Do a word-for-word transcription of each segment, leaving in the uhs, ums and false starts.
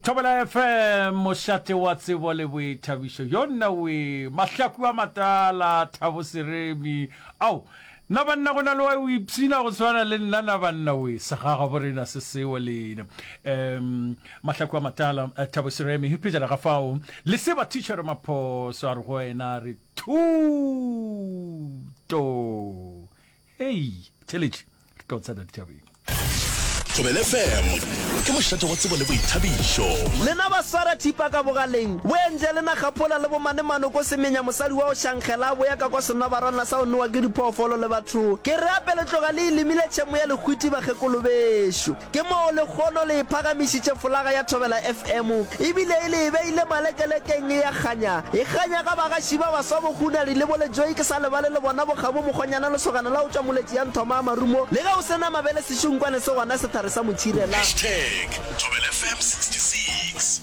Thobela F M, mošate wa tsebo le boithabišo. Yonna we, mahlaku a matala, Thabo Seremi. Ao, na banna go na le wa o ipshina go swana le nna na banna we, segaga borena se seo lena. Um, mahlaku a matala, Thabo Seremi, pejana ga fao, le se ba thitšhere maphoso a re go wena re thuto. Hei, theletše, re tlo tsena dithabeng. Thobela F M ke mošate wa tsebo le boithabišo. Lena ba swara thipa ka bogaleng, bo entše lena kgaphola le bomane manoko semenya mosadi wa go šankgela a boya ka kwa senobarwana sa go nowa ke diphoofolo le batho. Ke re ape le tloga le e lemile tšhemo ya lehwiti bakgekolo bešo. Ke moo lekgono le e phagamišitše folaga ya Thobela F M ebile e le e beile malekelekeng e a kganya. E kganya ka bagaši ba baswa bo Hunadi le bo Lejoe ke sa lebale le bona bo Kgabo Mokgonyana lesogana la go tšwa Moletši ya Nthoma a Marumo le ge o se na mabele sešunkwane se gona sethare sa motšhirela. Hashtag Thobela F M sixty six.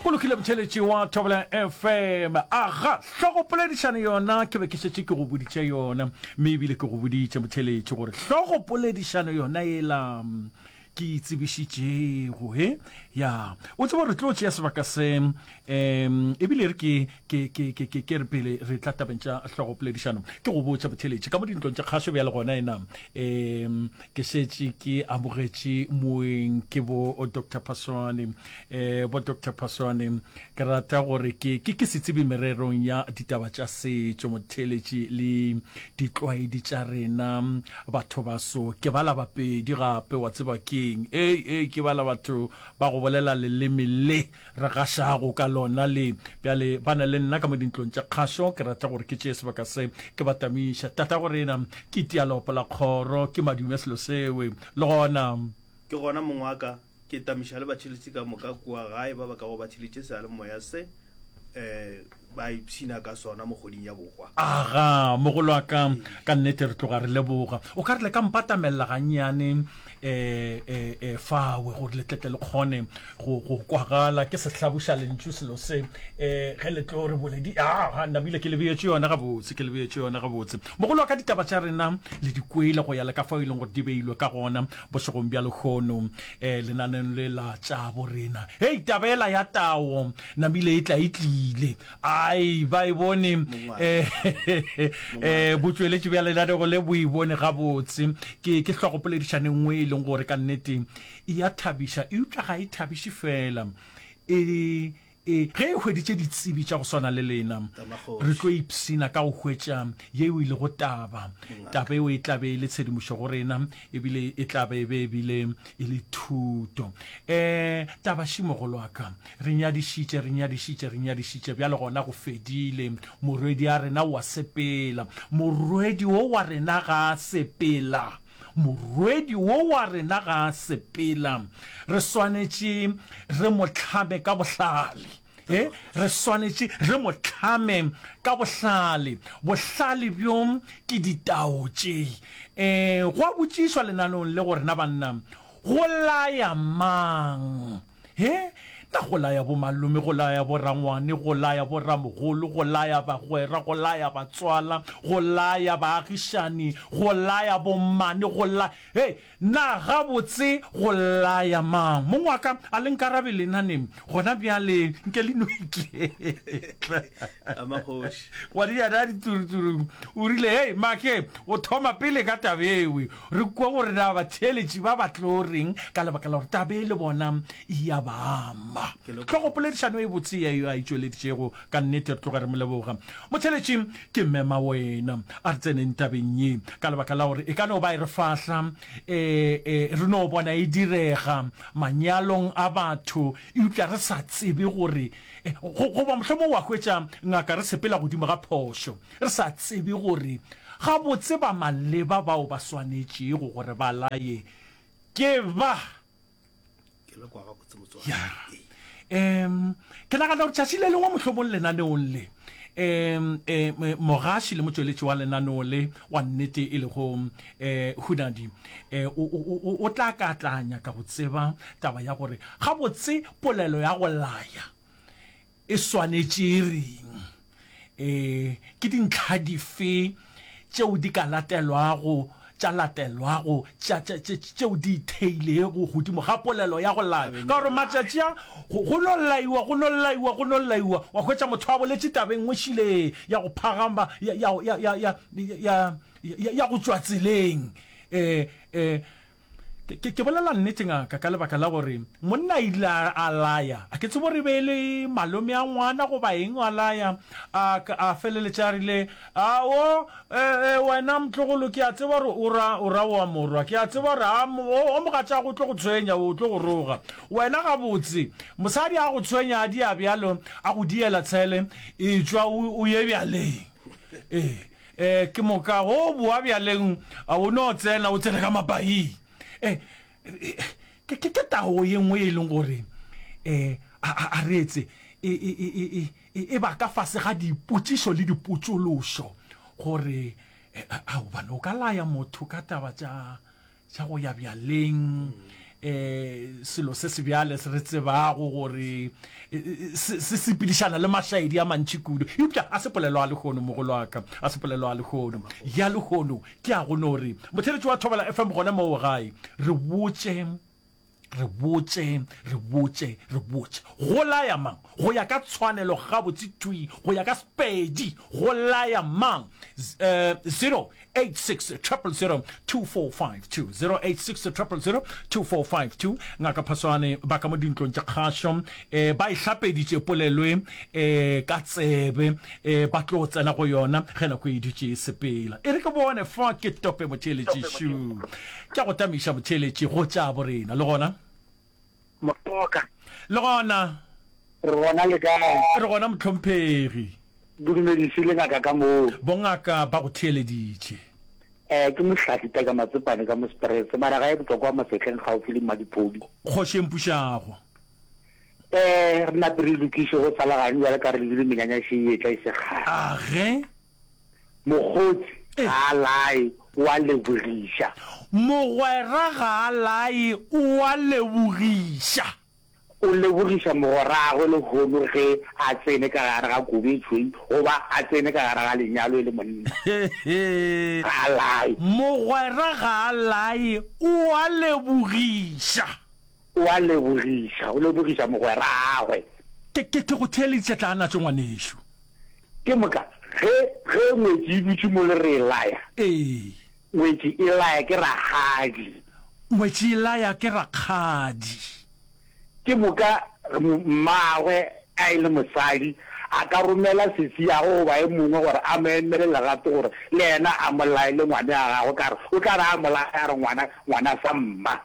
Go lokile motheletši wa Thobela F M. Aga, hlogopoledišano yona ke be ke šetše ke go boditše yona, mme ebile ke go boditše motheletši gore hlogopoledišano yona yela ke e tsebišitšego he ya o tseba re tlo tšea sebaka se um ebile re ke ke ke ke ke ke re pele re tla tabeng tša hlogopoledišano ke go botša motheletši ka mo dintlong tša kgašo bjale gona ena um ke šetše ke amogetše moeng ke bo Doctor Phaswane. um bo Doctor Phaswane, ke rata gore ke ke ke setsebi mererong ya ditaba tša setšo motheletši le ditlwaedi tša rena batho baso. Ke bala bapedi gape wa tseba keng, ei ei ke bala batho ba go bolela leleme le re gašago ka lona le bjale ba na le nna ka mo dintlong tša kgašo. Ke rata gore ke tšee sebaka se ke ba tamiša tata go rena ke tialopo la kgoro ke madume selo sewe le gona. Ke gona mong wa ka, ke tamiša le batšheletši ka moka kua gae ba ba kago ba tšheletše seyalemoya se, um ba ipshina ka sona mo kgweding ya bohwa. Aga, mogolo wa ka, ka nnete re tloga re leboga. O ka re le ka mpatamelela gannyane um um um fawe gore le tletle le kgone go go kwagala. Ke sehlabošalentšu selo se um ge le tlo re boledi. Aga, namile ke le beetše yona gabotse, ke le beetše yona gabotse. Mogolo wa ka, ditaba tša rena le di kwele go ya le ka fao e leng gore di beilwe ka gona bošegong bja lehono um lenaneng le la tša borena. Hei, taba ela ya tao namile e tla e tlile. Ai, ba e bone um botšweletši bja lenanego le bo e bone gabotse. Ke ke hlogopoledišano e nngwe e leng gore ka nnete e a thabiša, eupša ga e thabiše fela, e e ge e hweditše ditsebi tša go swana le lena, re tlo ipshina ka go hwetša yeo e lego taba. Taba eo e tla be e le tshedimošo go rena, ebile e tla be e be ebile e le thuto. Um taba še mogolo wa ka, re nyadišitše, re nyadišitše, re nyadišitše, bjale gona go fedile. Morwedi a rena o a sepela. Morwedi wo wa rena ga a sepela. Morwedi wo wa rena ga a sepela, re swanetše re mo hlame ka bohlale. E, re swanetše re mo hlame ka bohlale. Bohlale bjo ke ditao tše. E, gwa botšišwa lenaneong le go rena banna, go laya mang? He, na go laya bomalome, go laya borangwane, go laya boramogolo, go laya bagwera, go laya batswala, go laya baagišani, go laya bommane, go laya. Hei, na gabotse go laya mang? Mong wa ka, a le nkarabe lena ne? Gona bjale nke le no iketla. Ngwanenyana a dituruturung o rile, Hei, make, o thoma pele ka taba ewe. Re kwa gore na batheeletši ba ba tlo reng ka lebaka la gore taba e le bona e a ba ama. Hlogopoledišano e botse ye a e tšweleditšego, ka nnete re tloga re mo leboga. Motheeletši, ke mema wena, a re tseneng tabeng ye ka lebaka la gore e ka no ba e re fahla, e, e, re no bona e direga manyalong a batho, eupša re sa tsebe gore, e, go, goba mohlomongwe wa hwetša ngaka re sepela godimo ga phošo, re sa tsebe gore gabotse ba maleba bao ba swanetšego gore ba laye ke ba. Ke le kwa gabotse motswadi. Ya. Um, ke nagana gore tšatši le lengwe mohlomong lenaneong le, um, um, mogaši le motšweletši wa lenaneo le wa nnete e lego um Hunadi, um o, o, o, o tla ka tla nyaka go tseba taba ya gore gabotse polelo ya go laya e swanetše e reng. E, ke dintlha dife tšeo di ka latelwago tša latelwago tša, tša, tše, tšeo di itheilego godimo ga polelo ya go laya. Ka gore matšatši a, go, go no laiwa, go no laiwa, go no laiwa, wa hwetša motho a boletše taba e nngwe šile ya go phagama, ya, ya, ya, ya, ya, ya, ya, ya go tšwa tseleng. E, e, Ke, ke, ke bolela nnete, ngaka, ka lebaka la gore monna ile a, a laya. A ke tsebe gore e be e le malome a ngwana goba eng, a laya, a, a feleletša a rile, Ao, e, e, wena motlogolo, ke a tseba gore o ra, o ra wa morwa. Ke a tseba gore a, o, o mogatšago o tlo go tshwenya, o tlo go roga. Wena gabotse, mosadi a go tshwenya a dia bjalo, a go diela tshele, etšwa o, o ye bjaleng. Ee. E, ke moka go boa bjaleng, a o no tsena, o tsene ka mapaing. E, e, ke, ke, ke tao ye nngwe e leng gore, e, a, a, a re etse, e, e, e, e, e, e, e ba ka fase ga dipotšišo le dipotšološo, gore, e, a, gobane o ka laya motho ka taba tša, tša go ya bjaleng, um selo se sebjale se re tsebago gore se se sepedišana le mašaedi a mantši kudu. Eupša a se polelo a lehono, mogolo wa ka, a se polelo a lehono. Ya lehono ke a go no re, motheeletši wa Thobela F M gona moo gae, re botše, re botše, re botše, re botše, go laya mang? Go ya ka tshwanelo gabotse thwi, go ya ka Sepedi, go laya mang? Zero eight six triple zero two four five two, zero eight six triple zero two four five two. Ngaka Phaswane ba ka mo dintlong tša kgašo eh, ba e hlapeditše polelo e eh, ka tsebe eh, ba tlo tsena go yona ge nako e dutše e sepela. E re ke bone fa ke tope motheeletši šu. Ke a go tamiša motheeletši go tša borena le gona. Motoka. Le gona. Re gona le kae? Re gona mohlomphegi. Bodumedisi le ngaka ka moo. Bongaka ba go theeleditše. Eh, ke Mohlahli Taka Matsepane ka mo Springs, mara gae Botlokwa Masehleng gaufi le Mmadipodi. Kgoši e mpušago. Eh, re nape re lokiše go sa le gane bjale ka re lebile menyanya še e etla e se kgale. Age. Mokgotsi ga a lae, o a lebogiša. Mogwera ga a lae, o a lebogiša. O lebogiša mogweragwe lehono ge a tsene ka gare ga kobo e tšhweu goba a tsene ka gare ga lenyalo e le monna. Ga a lae. Mogwera ga a lae, o a lebogiša. O a lebogiša, o lebogiša mogweragwe. Ke, ke, ke go theeleditše tla natšo ngwanešu. Ke moka ge, ge ngwetši e dutše mo le re e laya. Ee. Ngwetši e laya ke rakgadi. Ngwetši e laya ke rakgadi. Ke moka mmagwe a e le mosadi, a ka romela sesiagwe goba e mongwe gore a mo emele legato gore le yena a mo laele ngwane a gagwe, ka re o tla re a mo laya a re ngwana, ngwana sa mma.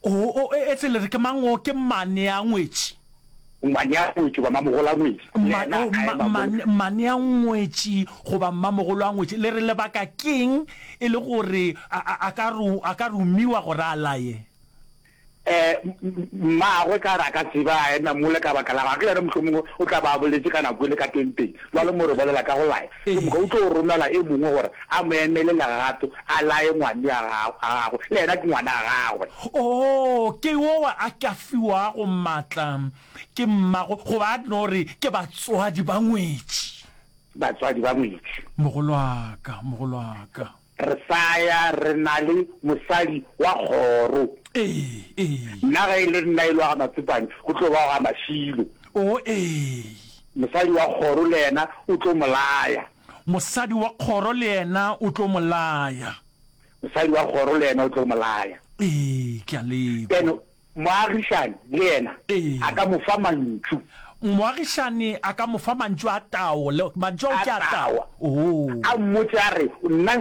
O, o, etse le re ke mang o? Ke mmane a ngwetši. Mmane-a-ngwetši goba mmamogolo-a-ngwetši, le Mma, yena oh, a mma, ema mma, mola. mmane-a-ngwetši goba mmamogolo-a-ngwetši, le re lebaka keng e le gore a, a, a ka ro, a ka romiwa gore a laye? Eh, mmagwe ka re a ka tseba a ema mola ka baka la gagwe, yena mohlomongwe o tla ba a boletše ka nako e le ka tenteng. Bjale mo re bolela ka go laya, ke moka o tlo romela e mongwe gore a mo emele legato, a laye ngwane a gagwe, le yena ke ngwana a gagwe. Oo, ke yowa a ka fiwago matla ke mmago, goba a no re ke batswadi ba ngwetši. Batswadi ba ngwetši. Mogolwaka, mogolwaka. Re sa ya re na le mosadi wa kgoro. Ee, ee. Nna ge e le nna e le wa ga Matsepane, go tlo ba wa ga Mašilo. Oo, ee. Mosadi wa kgoro le yena o tlo mo laya. Mosadi wa kgoro le yena o tlo mo laya. Mosadi wa kgoro le yena o tlo mo laya. Ee, ke a le kwa. Then moagišani le yena Ee. a ka mo fa mantšu. Moagišani a ka mo fa mantšu a tao, le, mantšu ao A ke a tao. tao. Oo. A mmotše a re, Nna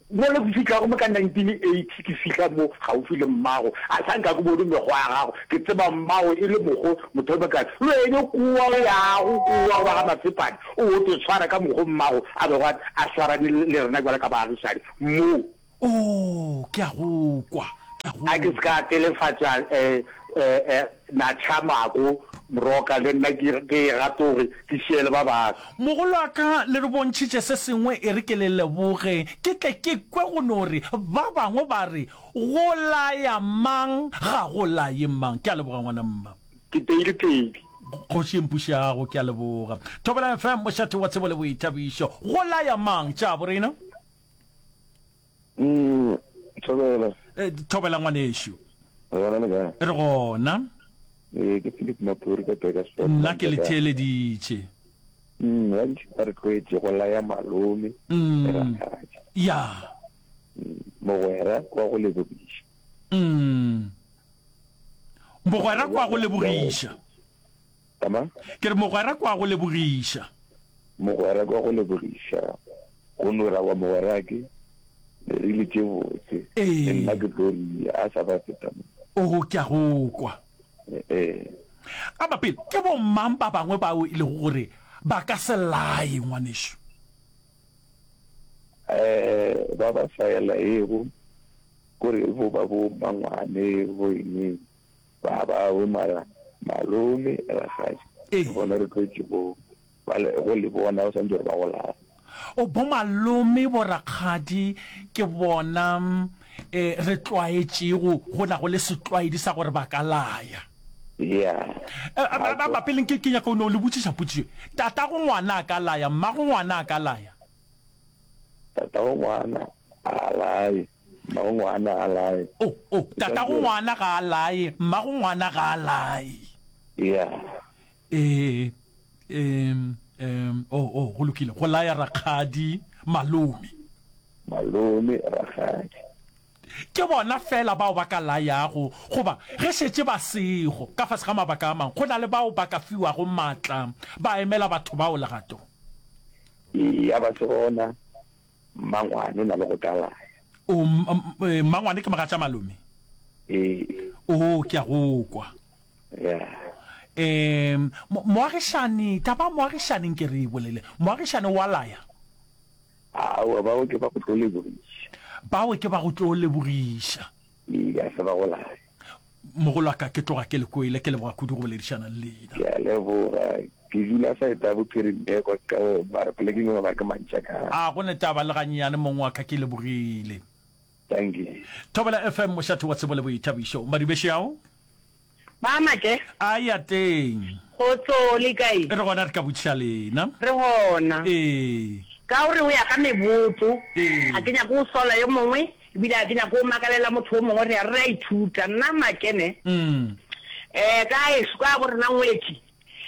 mo le ke fihlago mo ka nineteen eighty ke fihla mo gaufi le mmago, a sa nka ke bone mekgwa ya gago, ke tseba mmago e le mokgo motho o mokana. Le wene kua o yago kua go ba ga Matsepane, o o te tshwara ka mokgo mmago a bego a, a swarane le rena bjalo ka baagišani mo. Oo, ke a go kwa, ke a go A ke se ka telefatša eh, eh, eh, natšha mako, moroka, le nna ke, ke e gatoge, ke šiele ba bangwe. Mogolwaka, le re bontšhitše se sengwe, e re ke le leboge, ke tle ke kwe go no re ba bangwe ba re, Go laya mang, ga go laye mang. Ke a leboga, ngwana mma. Ke teile pedi. Kgoši e mpušago, ke a leboga. Thobela F M, mošate wa tsebo le boithabišo. Go laya mang, tša borena? Mm, Thobela. Eh, thobela ngwanešu. Re gona le kae? Re gona. Ee, ke Philip Maphuri ka Bakersfeld. Nna ke le theeleditše. Mm, gantši ba re tlwaetše go laya malome Mm. le rakgadi. Ya. Mm, mogwera kwa go lebogiša. Mm. Mogwera kwa go lebogiša. Tama? Ke re mogwera kwa go lebogiša. Mogwera kwa go lebogiša. Go no ra wa mogwera ke le rile tše botse. Ee. Le nna ke tlo ria a sa ba feta mo. O ke a go kwa. Ee. A ba pele ke bo mang ba bangwe bao e lego gore ba ka se laye ngwanešu? Eh, ba ba sa laego kore bo ba bo mangwane bo eng ba bawe mara malome rakgadi Ee. ke bona re tlwaetše go ba le go le bona o santse gore ba go laya. O bo malome bo rakgadi ke bona eh re tlwaetšego go na go le setlwaedi sa gore ba ka laya. Yeah. Eh, ba ba ba pele ke ke nyaka o no le botšiša potšišo. Tatago ngwana a ka laya, mmago ngwana a ka laya. Tatago ngwana a laye, mmago ngwana a laye. O o tatago ngwana ga a laye, mmago ngwana ga a laye. Yeah. Eh em em o o go lokile go laya rakgadi malome. Malome rakgadi. Ke bona fela bao ba ka layago goba ge šetše ba sego ka fase ga mabaka a mangwe go na le bao ba ka fiwago maatla ba emela batho bao legato. Ya ba se gona mmangwane o na le go ka laya. O mmangwane ke mogatša malome? Ee. O ke a go kwa. Yeah. Em moagišani taba moagišani nke re e bolele. Moagišani wa laya? Aowa bao ke ba go tlo lebogiša. Bao ke ba go tlo lebogiša. Ee, ga se ba go laya. Mogolo wa ka ke tloga ke le kwele, ke leboga kudu go boledišana le lena. Ke a leboga. Ke dula side ya Bophirimeko ka mara polekeng e ba ke Mantšakana. A go ne taba le ganyenyane mong wa ka, ke lebogile. Thank you. Thobela F M mošate wa tsebo le boithabišo. Madubešo ao? Ba make. A ya teng. Kgotso le kae? Re gona re ka botšiša lena. Re gona. Ee. Ka gore o ya ka mebotso, Ee. ga ke nyake go sola yo mongwe, ebile ga ke nyake go makalela motho yo mongwe, re ya re a ithuta. Nna Makene, Mm. eh, ka ešo, ka bo rena ngwetši,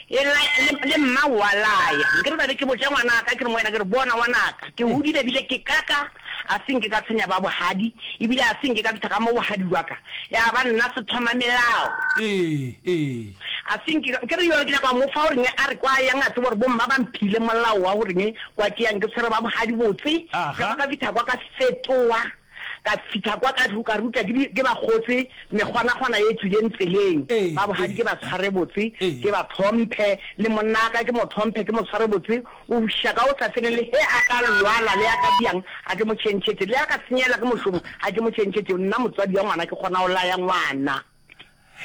e la, le, le mma wa laya. Nke re ba be ke botša ngwanaka, ke re mo wena, ke re bona ngwanaka, ke hodile ebile ke kaka, a se nke ka tshwenya ba bohadi, ebile a se nke ka fihla ka mo bohadi bwa ka, ya ba nna se thoma melao. Ee, ee. A se nke ka, ke re yona ke nyaka go mo fa gore a re kwa yang a tsebe gore bomma ba mphile molao wa gore kwa ke yang ke tshwere ba bohadi botse. Aha. Ka ba ka fihla kwa ka fetoa, ka fihla kwa ka ka ruta ke di, ke ba kgotse mekgwanakgwana ye tswileng tseleng. Ee, Ba bohadi ee. ke ba tshware botse, Ee. ke ba tlhomphe, le monna ka ke mo tlhomphe, ke mo tshware botse. O buša ka o sa feleng le he a ka lwala le a ka diang, a ke mo tšhentšhetše, le a ka senyela ke mošomo, a ke mo tšhentšhetše. Nna motswadi wa ngwana ke kgona go laya ngwana.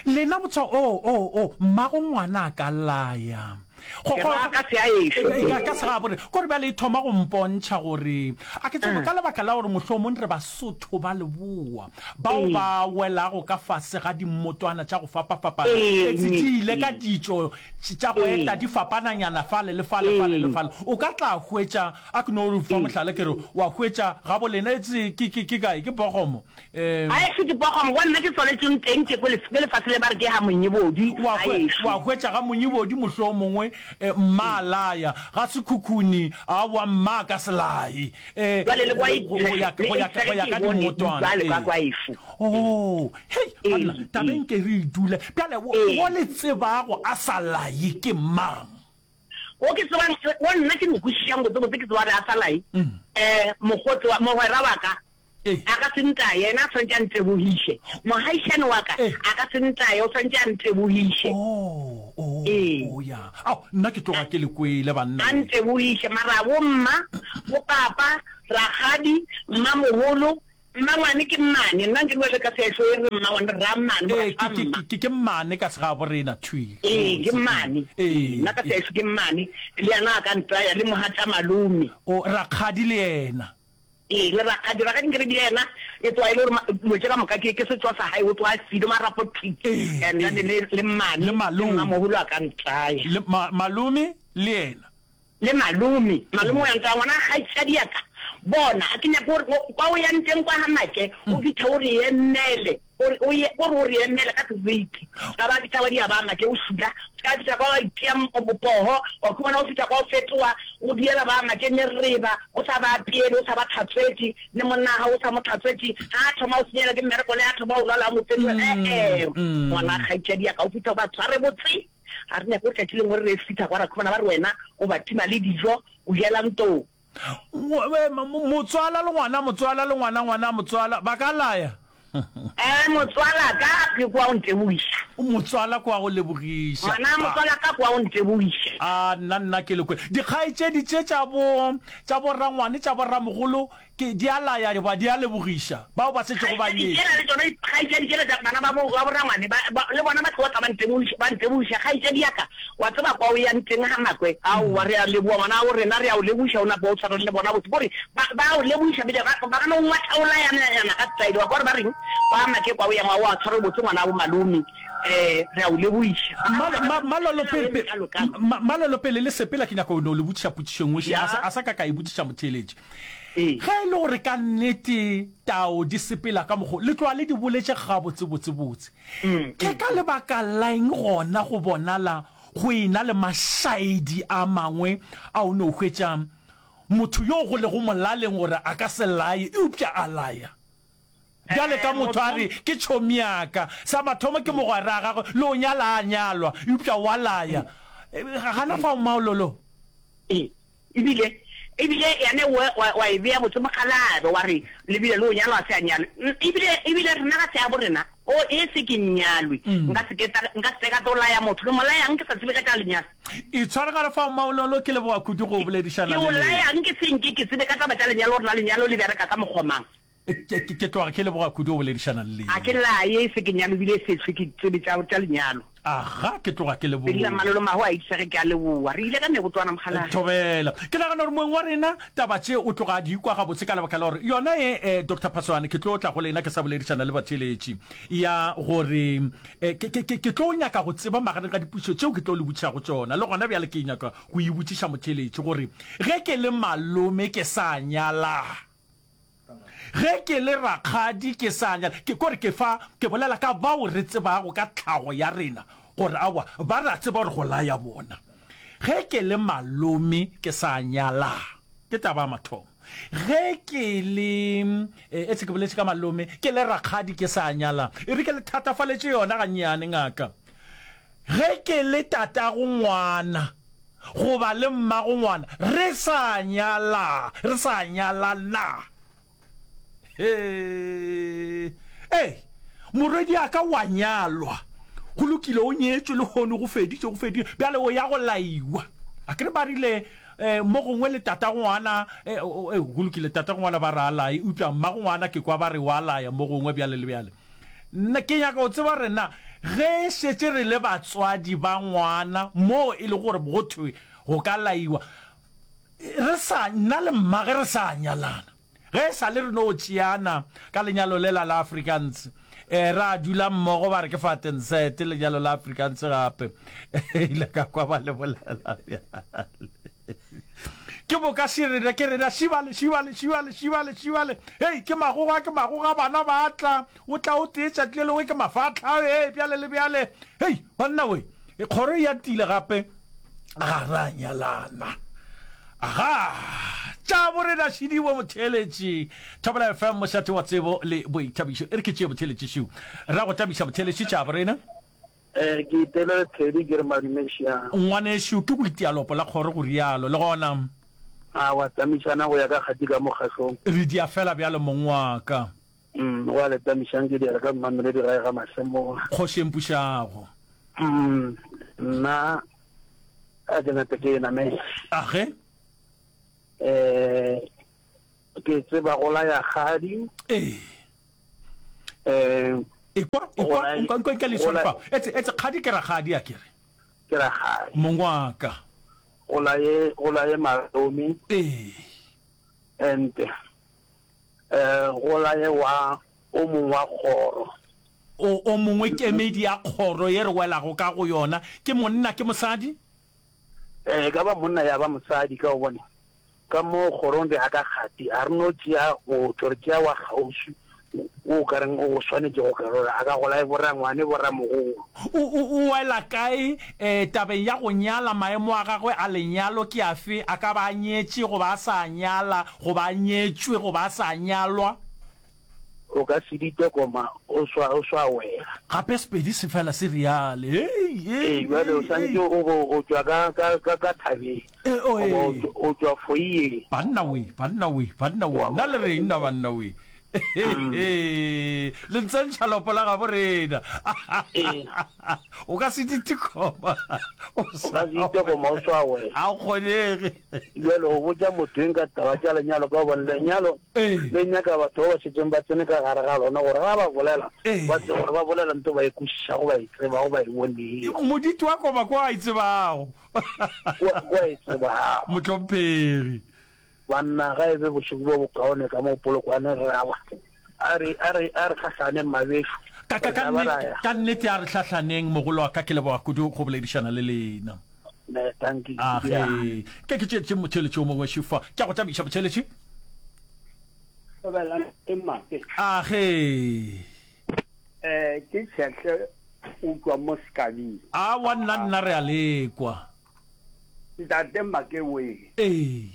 Lena botsa o o o mmago ngwana a ka laya. Go Ke go ra ka se a ešo. E, ka ka se ga bore. Gore bjale e thoma go mpontšha gore a ke tsebe ka lebaka la gore mohlomong re Basotho ba leboa bao ba welago ka fase ga dimmotwana tša go fapafapana. Ee, Etse di ile ka ditšo tša go eta di fapananyana fale le fale fale le fale. O ka tla hwetša a ke no fa mohlala ke re wa hwetša ga bolena etse ke ke ke kae ke Bogomo. Eh A ešo ke Bogomo, go nna ke tswaletsweng teng ke ko lef-, ke lefase le ba re ke ga Monyebodi, wa a hwe-, ešo. wa hwetša ga Monyebodi mohlomongwe eh, mma laya ga Sekhukhuni a wa mma ka selae. Eh Jwale le kwa e- go ya le go ya e- go ya ka ke bone, dimmotwana, jwale kwa ee. kwa ešo. Oh, hei, Ee, banna, tabeng ee. ke re e dule. Bjale, wo, Ee. wo le tsebago a sa laye ke mang? O ke tsebang, o nna ke mo kwešišang botse botse ke tseba gore a sa laye. Mm. Eh, mokgotsi wa, mogwera wa ka, Ee. a ka se ntaye, yena a tshwanetse a ntebogiše. Mogaishane wa ka, Ee. a ka se ntaye, o tshwanetse a ntebogiše. Oh, oh, Ee. oh, ya. Ao, nna ke tloga ke le kwele, banna. A ntebogiše, mara bo mma, bo papa, rakgadi, mmamogolo, mmangwane ke mmane. Nna nke bua le ka sešo e re mmangwane, rammane, Ee, mora ke, ke, mma. ke, ke mmane ka segabo rena, thwi. Ee, ke mmane. Ee, Nna ka ee. sešo ke mmane, le yena a ka ntaya, le mogatša malome. O, rakgadi le yena. Ee, le rakgadi, rakgadi nke re di yena, e tloga e le gore ma-, dilo tše ka moka ke, ke setšo sa hae, o tloga a file marapo thwi. Ee, And then ee. le, le mmane, Le malome. le mmamogolo a ka ntaya. Le ma-, malome le yena. Le malome, malome o ya ntaya, ngwana kgaitsadi ya ka, Bona, a ke nyake gore kwa o yang teng kwa ga Make, o fitlhe o re emele, o re, o ye, o re o re emele ka seriti. O ka ba fihla wa dia ba Make o šula, o ka fihla kwa wa itia poho, wa khumana o fihla kwa o fetoga, o diela ba Make mereba, o sa ba apeele, o sa ba tlhatswetše, le monna wa gago o sa mo tlhatswetše. Ga a thoma o senyelwa ke mmereko, le a thoma o lwala o mo fetola, e-e, ngwana kgaetšadi ya ka, o fitlhe o ba tshware botse. Ga re nyake gore tšatši lengwe re re fihla kwa ra khumana ba re wena o ba tima le dijo, o jela ntong. Motswala le ngwana motswala le ngwana ngwana motswala ba ka laya. Eh motswala ka ke kwa o ntebogiša. Motswala kwa go lebogiša. Ngwana motswala ka kwa o ntebogiša. A nna nna ke le kwe. Dikgaetšedi tše tša bo tša bo rangwane tša bo ramogolo Ke, di a laya goba di a lebogiša bao ba šetšego ba Kgaetšedi tšela nyetšwe. le tšona, kgaetšedi tšela tša bana ba bo, ba borangwane, ba, ba, le bona ba tloga tla ba ntebogiša, ba ntebogiša. Kgaetšedi ya ka, wa tseba kwa o yang teng ga Makwe? Aowa, re a leboga, ngwana wa rena, re a o lebogiša, o napa o tshwarane le bona botse. Kore ba, ba a o lebogiša, bile ba, ba ka no ngwatha o layanayana ka style. Wa kwa gore ba reng? Kwa Make kwa o yang, wa, wa tshware botse ngwana wa bo malome. Eh, re a o lebogiša. Ma, ma, Malolo, pele, pe, ma, Malolo, pele le sepela, ke nyaka go no le botšiša potšišo e nngwe še, a sa, Ya. a sa ka ka e botšiša motheeletši. Ee. Ge e le gore ka nnete tao di sepela ka mokgo le tloga le di boletše gabotsebotsebotse, ke ka lebaka la eng gona go bonala go e-na le mašaedi a mangwe a o no hwetša motho yo go lego molaleng gore a ka se laye eupša a laya? Bjale ka motho a re, Ke tšhomi ya ka. Sa mathomo ke mogwera wa gagwe, le o nyala a nyalwa, eupša o a laya. Gana fao maololo. Ee. Ebile, ebile yane wa, wa, wa e bea botse mokgalabje, wa re, Le bile le o nyalwa a se a nyalwe. Ebile, ebile rena ga se ya borena. O, e se ke nyalwe. Nka se ke ta, nka se ka tlo laya motho. Ke mo layang ke sa tsebe ka tša lenyalo? Itshware gare fao, Maololo, ke leboga kudu go boledišana Ke o le lena. layang ke se nke ke tsebe ka taba tša lenyalo gore na lenyalo le bereka ka mokgwa mang? Ke, ke, ke tloga ke leboga kudu go boledišana le A ke lena. laye e se ke nyalwe ebile e se hlwe ke tsebe tša, tša lenyalo. Aga, ke tloga ke Pedi la leboga. Mmalolo Maho a itse ge ke a leboga. Re ile ka mebotwana mokgalabje. Thobela. Ke nagana gore moeng wa rena taba tše o tloga a di kwa gabotse ka lebaka la gore yona ye, eh, Doctor Phaswane, ke tlo tla go lena ke sa boledišana le batheeletši ya gore, eh, ke, ke, ke, ke tlo nyaka go tseba magareng ga dipotšišo tšeo ke tlo le botšišago tšona. Le gona bjale ke nyaka go e botšiša motheeletši gore ge ke le malome ke sa nyala, Ge ke le rakgadi ke sa nyala, ke kore ke fa ke bolela ka bao re tsebago ka tlhago ya rena gore aowa ba re a tseba gore go laya bona. Ge ke le malome ke sa nyala, ke taba ya mathomo. Ge ke le, etse ke boletše ka malome, ke le rakgadi ke sa nyala, e re ke le thatafaletše yona gannyane ngaka. Ge ke le tatago ngwana goba le mmago ngwana re sa nyala, re sa nyalana. Hee! Ee, morwediaka wa nyalwa. Go lokile, o nyetšwe lehono, go feditše, go fedile. Bjale o ya go laiwa. Akere ba rile, eh, mo gongwe le tatago ngwana, eh, eh, go lokile, tatago ngwana ba re a laye, eupša mmago ngwana ke kwa ba re wa laya mo gongwe bjale le bjale. Nna ke nyaka go tseba gore na ge šetše re le batswadi ba ngwana moo e lego gore go thwe go ka laiwa, re sa, nna le mmage re sa nyalana. Ge e sa le re no tšeana ka lenyalo lela la Afrikaans, eh, ra dula mmogo ba re ke Vatenset, lenyalo la Afrikaans gape. Ile ka kwa ba le bolela bjale. Ke boka širina, ke rena šibale, šibale, šibale, šibale, šibale. Hei, ke magoga, ke magoga, bana ba tla. O tla o tee tšatši le lengwe ke mafatlha, hei, bjale le bjale. Hei, banna we, kgoro e ya tile gape, ga ra nyalana. Aga, tša borena šidiwe motheeletši. Thobela F M, mošate wa tsebo le boithabišo. E re ke tšee motheeletši šiu. Ra go tamiša motheeletši, tša borena. Eh, ke itele Thedi ke re madume šiang. Ngwanešu, ke go itia lopo la kgoro go rialo. Le gona. A wa tamišana go ya ka kgati ka mokgahlong. Re dia fela bjalo mong wa ka. Mm, wa le tamišang ke diela ka Mmamelodi gae ga Masemola. Kgoši e mpušago. Mm, nna a ke nape ke e namele. Age? Eh, ke tseba go laya kgadi. Ee. Eh, Ekwa, ekwa, nka, nka, nka le tshware fa. Etse, etse, kgadi ke rakgadi a ke re. Ke rakgadi. Mong wa ka. Go laye, go laye malome. Ee. And, eh, go laye wa, o mongwe wa kgoro. O, o mongwe kemedi ya kgoro ye re welago ka go yona. Ke monna, ke mosadi? Eh, e ka ba monna ya ba mosadi, ka gobane Ka mo kgorong re ya ka kgati, a re no tšea motho, re tšea wa kgauswi wo o ka reng o go swanetše go ka rora, a ka go lae borangwane, boramogolo. O, o, o wela kae e, tabeng ya go nyala? Maemo a gagwe a lenyalo ke afe? A ka ba a nyetše goba a sa nyala, goba a nyetšwe goba a sa nyalwa? O ka se dite koma o swa, o swa wela. Gape Sepedi se fela se reale. Hei, hei, Ee, bjale o hei, swanetše hei. o bo o tšwa ka, ka, ka, ka thabeng, E, o, goba o ee. tšwa, o tšwa foyeng. Banna we, banna we, banna we, Wa nna le bona? reng na banna we? Mm. Le ntsentšha lopo la gabo rena. Ee. O ka se dite koma o O sa ka se dite koma o swa wela. Ga o kgonege. Bjale o botša motho eng ka taba tša lenyalo ka gobane lenyalo Ee. le nyaka batho ba ba šetšeng ba tsene ka gare ga lona gore ga ba bolela Ee. ba tsebe gore ba bolela nto ba e kwešišago, ba e tsebago, ba e bonego. Moditi wa koma ko a e tsebago. Ko, ko a e tsebago. Mohlomphegi. Banna, ga e be bošego bo bokaone ka mo Polokwane re a ba. A re, a re, a re hlahlaneng mabešo. Ka, ka, Re ka tla ba ra nnete, ya. ka nnete a re hlahlaneng, mogolo wa ka, ke leboga kudu go boledišana le lena. Ne, thank you. A Ya. ge. Ke ke tšeetše motheeletši o mongwe šufa. Ke a go thabiša, motheeletši. Thobela e mape. A ge. Eh, ke Tshehle o tšwa mo Sekabing. Aowa, nna, nna re a lekwa. Ntate Make wee. Ee.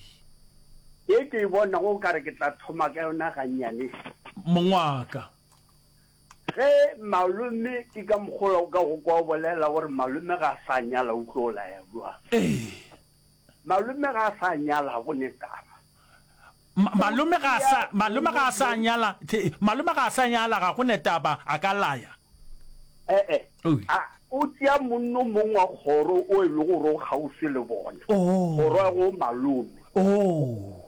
Ye ke e bonago o ka re ke tla thoma ka yona gannyane. Mong wa ka. Ge malome, ke ka mokgwa o ka go kwa o bolela gore malome ga a sa nyala o tlo laya bjang. Ee. Malome ga a sa nyala ga go ne taba. Ma, malome ga a sa, malome ga a sa nyala, the, malome ga a sa nyala ga go ne taba, a ka laya. E-e. Oi. A, o tšea monno mong wa kgoro o e lego gore o kgauswi le bona, Oh. kgoro ya go malome. Oh.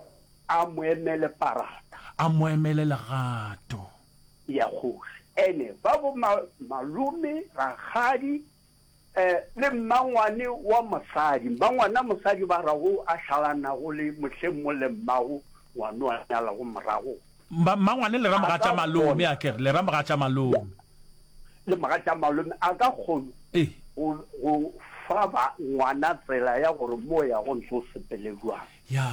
A mo emele parata. A mo emele legato. Ya kgoši. Ene ba bo ma, malome, rakgadi, eh, le mmangwane wa mosadi. Mmangwana mosadi ba rago a šalanago le mohleng mo le mmago ngwano a nyalago morago. Mma, mmangwane le ra A ka mogatša malome, kgona. a ke re, le ra mogatša malome. Le mogatša malome a ka kgona Ee. go, go fa ba ngwana tsela ya gore mo ya go ntse o sepele bjang. Ya,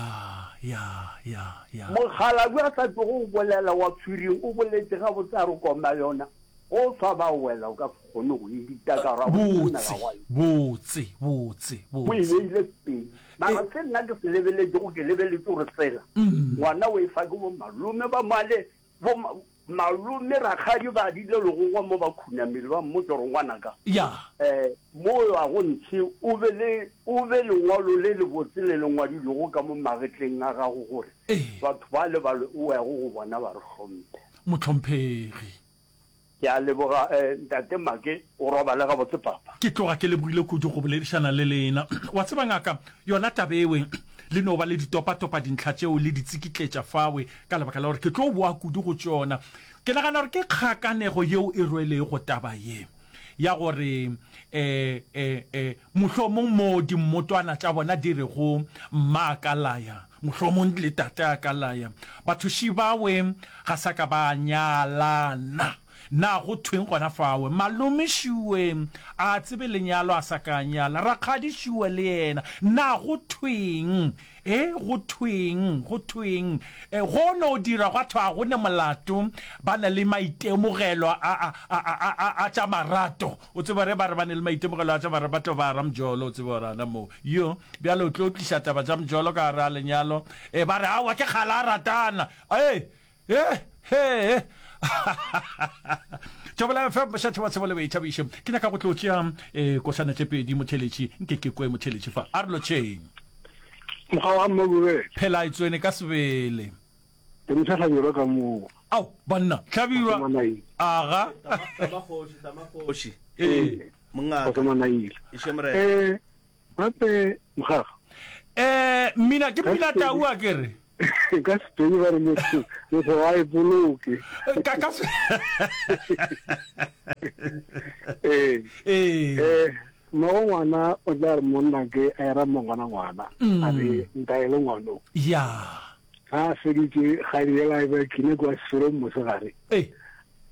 ya, ya, ya. Mokgalabje a sa tšogo go bolela wa Pswiring o boletše gabotse a re koma yona, go swa ba wela o ka se kgone go e dita ka gore ga go Botse, tsena ga gwa yona. botse, botse, O e botse. beile pele. Mara E. se nna ke se lebeletšego, ke lebeletše gore tsela ngwana o e fa ke bo malome ba male, bo ma, malome rakgadi ba dile legogwa mo ba khunamile ba mmotša gore ngwanaka, Ya. eh, mo o yago ntshe o be le, o be lengwalo le lebotse le le ngwadilwego ka mo magetleng a gago gore Ee. batho ba le ba o yago go bona ba re hlomphe. Mohlomphegi. Ke a leboga, eh, Ntate Make, o robale gabotse papa. Ke tloga ke lebogile kudu go boledišana le lena. Wa tseba ngaka, yona taba ewe le no ba le ditopatopa dintlha tšeo le di tsikitletša fawe ka lebaka la gore ke tlo boa kudu go tšona. Ke nagana gore ke kgakanego yeo e rwelego taba ye ya gore eh, eh, eh, mohlomong mo dimmotwana tša bona di rego mma a ka laya, mohlomong le tate a ka laya, bathuši bawe ga sa ka ba nyalana. Na go thweng gona fawe? Malome Šue a tsebe lenyalo a sa ka a nyala, rakgadi Šue le yena. Na go thweng? E, go thweng? Go thweng? E, go no dira gwa thwa ga go ne molato, ba na le maitemogelo a, a, a, a, a, a tša marato. O tsebe gore ba re ba ne le maitemogelo a tša marato, ba tlo ba ra mjolo, o tsebe gore ana moo. Yo, bjale o tlo tliša taba tša mjolo ka gare ga lenyalo. E, ba re, aowa, ke kgale a ratana. E, e, he, he. Thobela F M, mošate wa tsebo le boithabišo. Ke nyaka go tlo tšea eh, košana tše pedi motheletši, nke ke kwe motheletši fa. A re lotšheng. Mokgwa wa Mmabube. Phela e tswene ka sebele. Ke motho Hlabirwa ka moo. Ao, banna, Hlabirwa. Aga. Tama kgoši, tama kgoši. Ee. Mongaka. Kgotso Manaile. Eše morena. Eh, gape mogaga. Eh, mmina ke mmina tau a ke re. Ka Sepedi ba re motho, motho ga a ipoloke. Ka, ka se- Ee. Ee. Eh, mmago ngwana o tla re monna ke a era mmangwana ngwana, a re ntaele ngwano. Ya. Ga a feditše kgadi yela e ba kine kwa seferong mosegare. Ee.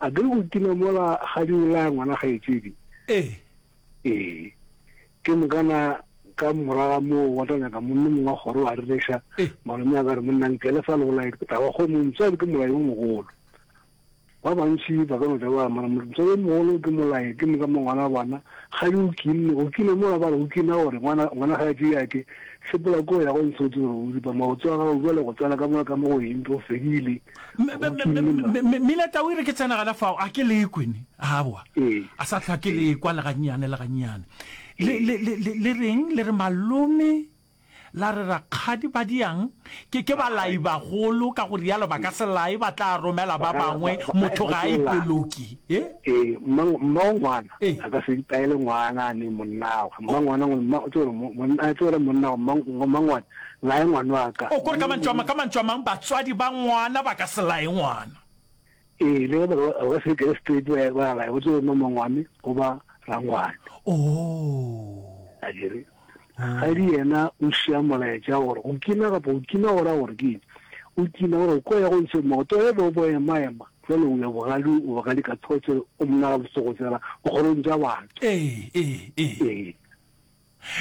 A ke re go kina mola kgadi o laya ngwana kgaetšedi. Ee. Ee. Ke mokana Ka morago ga moo wa tla nyaka monna mongwe wa kgoro wa rereša. Malome a ka re, Monna nkele fa le go lae taba kgomo, motswadi ke molai o mogolo. Ba bantši ba ka no tla ba re, Mara motswadi o mogolo ke molai, ke moka mo ngwana wa bona kgadi o kinne. Go kina mola ba re o kina gore ngwana ngwana ga a tšee ya ke sepela ko ya go ntsho tse gore o ripa maoto a gago bjale go tsena ka mola ka mo go eng go fedile. Go kinne ma. Mina tau e re ke tsena gana fao a ke lekwe ne aowa Ee. a sa hlwa ke lekwa le gannyane le gannyane. Le, le, le, le, le reng? Le re malome, la re rakgadi ba diang? Ke, ke balai bagolo, ka go rialo ba ka se lae, ba tla romela ba bangwe, motho ga a ipoloke. E? Ee, mma, mmago ngwana Ee. a ka se itaele ngwana a ne monnagwe. Mma ngwana, mma, o tsebe gore mo, monna, a tsebe gore monnagwe, mma, mma ngwana, lae ngwana wa ka. O, kore ka mantšu a ma, ka mantšu a mang, batswadi ba ngwana ba ka se lae ngwana. Ee, le ge ba ka, ba ka se ikele straight ba, ba lae, o tsebe gore mmangwane goba rangwane. Oh. A ke re, Kgadi yena o šia molaetša gore go kina kapa go kina go ra gore ke eng? O kina gore o ko ya go ntshe maoto ge bo bo ema ema jwale o ya bogadi o bogadi ka thotse o monna ga botse go tsena kgorong tša batho. Ee, ee, ee.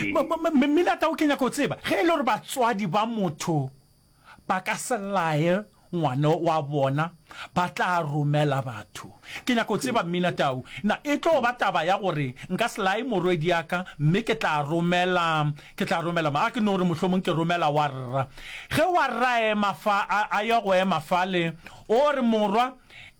Ee. Mmila Tau ke nyaka go tseba ge e le gore batswadi ba motho ba ka se laye ngwana wa bona ba tla romela batho. Ke nyaka go tseba Mmina Tau, na e tlo ba taba ya gore nka se laye morwediaka mme ke tla romela, ke tla romela mang? A ke no re mohlomong ke romela wa rra. Ge wa rra a ema fa, a, a ya go ema fale, o re, Morwa,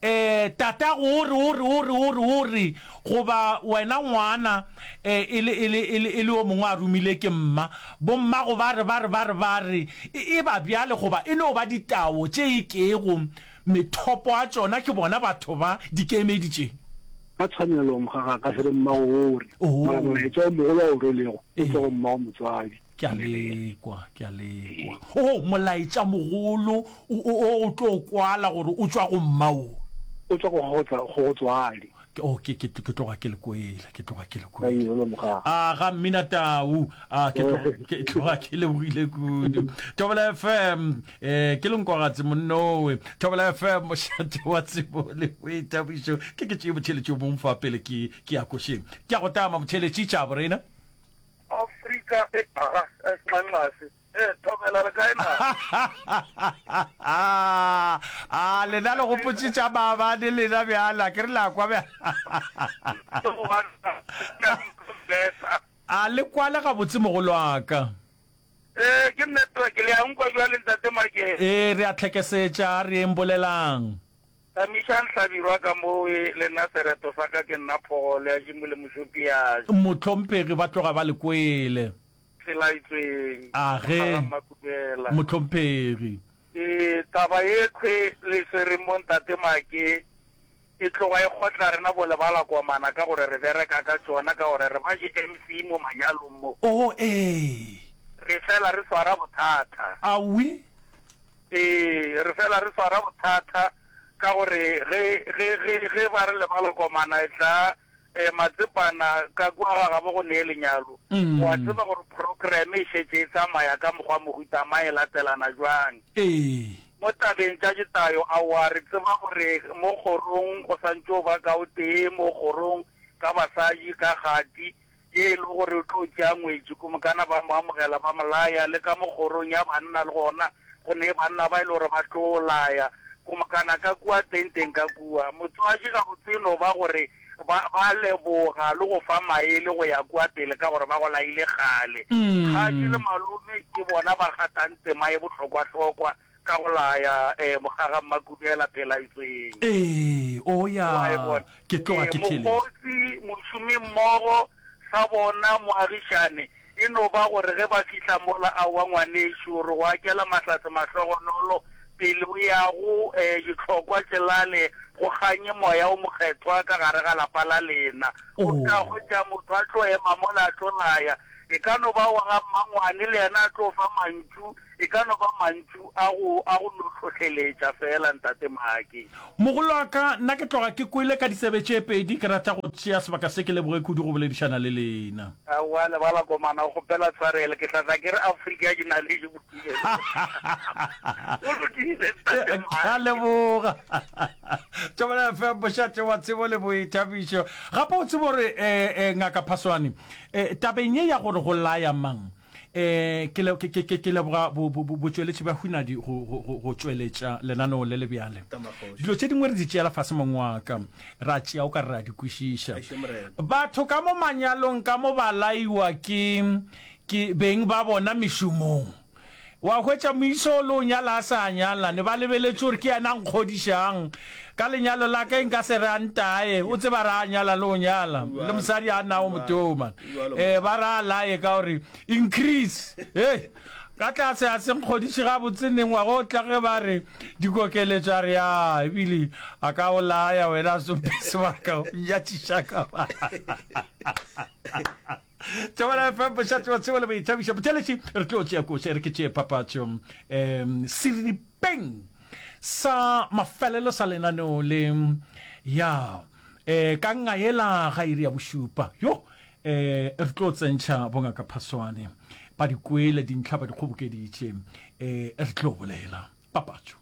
E, tatago o re, o re, o re, o re, o re, goba wena ngwana, e, e le, e le, e le, e le yo mongwe a romile ke mma, bommago ba re, ba re, ba re, ba re, e, e ba bjale goba e no ba ditao tše e kego methopo a tšona ke bona batho ba dikemedi tše. Ka tshwanelo mogagaka se re mmago o re, mara Oh. molaetša o mogolo a o rwelego o tšwa go Ee. mmago motswadi. Ke a lekwa, ke a lekwa. Oh, molaetša mogolo o, o, o tlo kwala gore o tšwa go mma wo. O tšwa go go tla, go go tswadi. Ke, oh, ke, ke, ke tloga ke le kwele, ke tloga ke le Ka kwele. irelo mogaga. A ga mmina tau, a ke tloga, ke tloga ke lebogile kudu. Thobela F M, eh, ke lenkogatse monnowe. Thobela F M, mošate wa tsebo le boithabišo. Ke ke tšee motheeletši o mong fa pele ke, ke ya košeng. Ke a go tama motheeletši, tša borena. Afrika e aga nxanxase. Eh, thobela le kae na? A lena le gopotše tša maabane lena bjale, a ke re la kwa bjale. A le kwale gabotse mogolwaka. Eh, ke network le a nkwa bjale ntate Makele. Ee, re a tlhekesetša, a re yeng bolelang. Tamišang Hlabirwa ka mo e le nna sereto sa ka ke nna Phogole ya Jimo le Mošopi ya. Mohlomphegi ba tloga ba le kwele. Tselaetsweng, A ge, Mogala Mmakubela. Mohlomphegi. Ee, taba ye khwe le swereng mo Ntate Make e tloga e kgotla rena bo lebalakomana ka gore re bereka ka tšona ka gore re ba di M C mo manyalong mo. Oh, ee. Re fela re swara bothata. Awi. Ee, re fela re swara bothata ka gore ge, ge, ge, ge ba re lebalakomana e tla, eh, matsepana ka kua ga gabo go nee lenyalo, o a tseba gore program e šetše e tsamaya ka mokgwa mohuta mang, e latelana bjang. Ee. Mo tabeng tša ditayo, aowa, re tseba gore mo kgorong go santše o ba ka o tee mo kgorong ka basadi, ka kgati, ye e le gore o tlo tšea ngwetši, kumokana ba mo amogela ba mo laya, le ka mo kgorong ya banna le gona go ne banna ba e le gore ba tlo laya, kumokana ka kua tenteng ka kua. Motswadi gabotse e no ba gore ba, ba leboga le go fa maele go ya kua pele ka gore ba go laile kgale. Kgadi le malome ke bona ba kgathang tema ye bohlokwahlokwa ka go laya eh, Mokgaga Mmakubela Phelaetsweng. Ee, o ya, Wa e bona? ke tloga Ee, ke theeletša. mokgotsi, mošomimmogo, sa bona, moagišane, e no ba gore ge ba fihla mola, aowa ngwanešu, re go akela mahlatse mahlogonolo, pele o yago, eh, dihlokwa tšelale, go kganye moya o mokgethwa ka gare ga lapa la lena. O Oh. tla hwetša motho a tlo ema mola a tlo laya. E ka no ba wa ga mmangwane le yena a tlo fa mantšu, E ka no ba mantšu a go, a go no hlohleletša feela, Ntate Maake. Mogolo wa ka, nna ke tloga ke kwele ka ditsebe tše pedi, ke rata go tšea sebaka se ke leboge kudu go boledišana le lena. Aowa, lebala komana, o kgopela tshwarelo, ke tla tla ke re Afrika ya dinaledi bophelo. Go lokile, Ntate Maake. Ke a leboga. Thobela F M, mošate wa tsebo le boithabišo. Gape o tsebe gore, eh, eh, Ngaka Phaswane, eh, tabeng ye ya gore go laya mang, Eh, ke, le, ke, ke, ke leboga bo, bo, bo, botšweletši bja Hunadi go, go, go, go tšweletša lenaneo le le bjale. Dilo tše dingwe re di tšeela fase mong wa ka, ra tšea o ka re ra di kwešiša. Batho ka mo manyalong ka mo ba laiwa ke, ke beng ba bona mešomong. Wa hwetša moisa o le o nyala a sa nyala, ne ba lebeletše gore ke yena a nkgodišang ka lenyalo la ka, nka se re a ntaye, o tseba re a nyala le o nyala, le mosadi a nago motoma. Eh, ba re a laye ka gore increase, hei, ka tlase a se nkgodiše gabotse neng ngwaga o tla ge ba re dikokeletšo a re ya, ebile a ka o laya wena a sope sebaka o nyatšiša ka ba. Thobela F M, mošate wa tsebo le boithabišo. Botheletši, re tlo tšea koša, e re ke tšee papatšo. Um, seripeng sa mafelelo sa lenaneo le, ya, eh, ka ngayela ga iri ya bošupa. Yo, eh, re tlo tsentšha bongaka Phaswane. Ba di kwele dintlha, ba di kgobokeditše. Eh, re tlo bolela. Papatšo.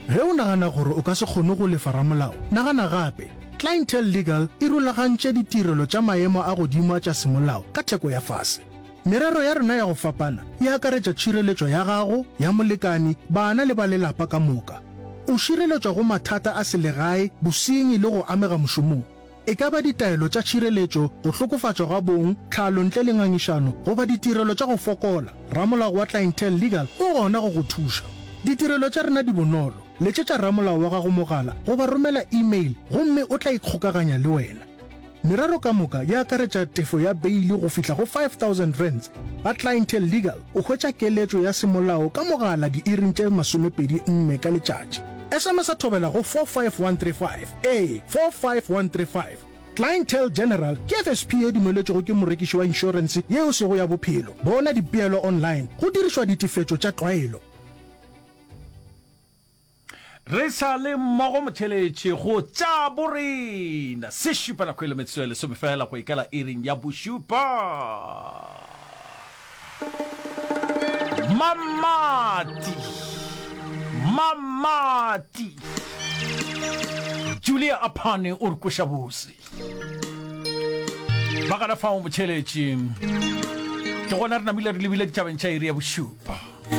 Ge o nagana gore o ka se kgone go lefa ramolao, nagana gape. Clientele Legal e rulagantše ditirelo tša maemo a godimo a tša semolao ka theko ya fase. Merero ya rena ya go fapana e akaretša tšhireletšo ya gago, ya molekani, bana le ba lelapa ka moka. O šireletšwa go mathata a selegae, bosenyi le go amega mošomong. E ka ba ditaelo tša tšhireletšo, go hlokofatšwa ga bong, tlhalo ntle le ngangišano, goba ditirelo tša go fokola, ramolao wa Clientele Legal o gona go go thuša. Ditirelo tša rena di bonolo, letšetša ramolao wa gago mogala goba romela e-mail gomme o tla ikgokaganya le wena. Merero ka moka e akaretša tefo ya beili go fihla go five thousand rands. Ba Clientele Legal o hwetša keletšo ya semolao ka mogala diiring tše masomepedi nne ka letšatši. S M S a thobela go four five one three five, ee, four five one three five. Clientele General ke F S P ye dumeletšwego ke morekiši wa inšorense ye e sego ya bophelo. Bona dipeelo online go dirišwa ditefetšo tša tlwaelo. Re sa le mmogo motheletši go tša borena. Se šupa nako e le metsotso e lesome fela go ikela iring ya bošupa. Mamati, Mamati. Julia Aphane o re kweša bose. Ba gana fao motheletši. Ke gona re namile re lebile ditabeng tša iri ya bošupa.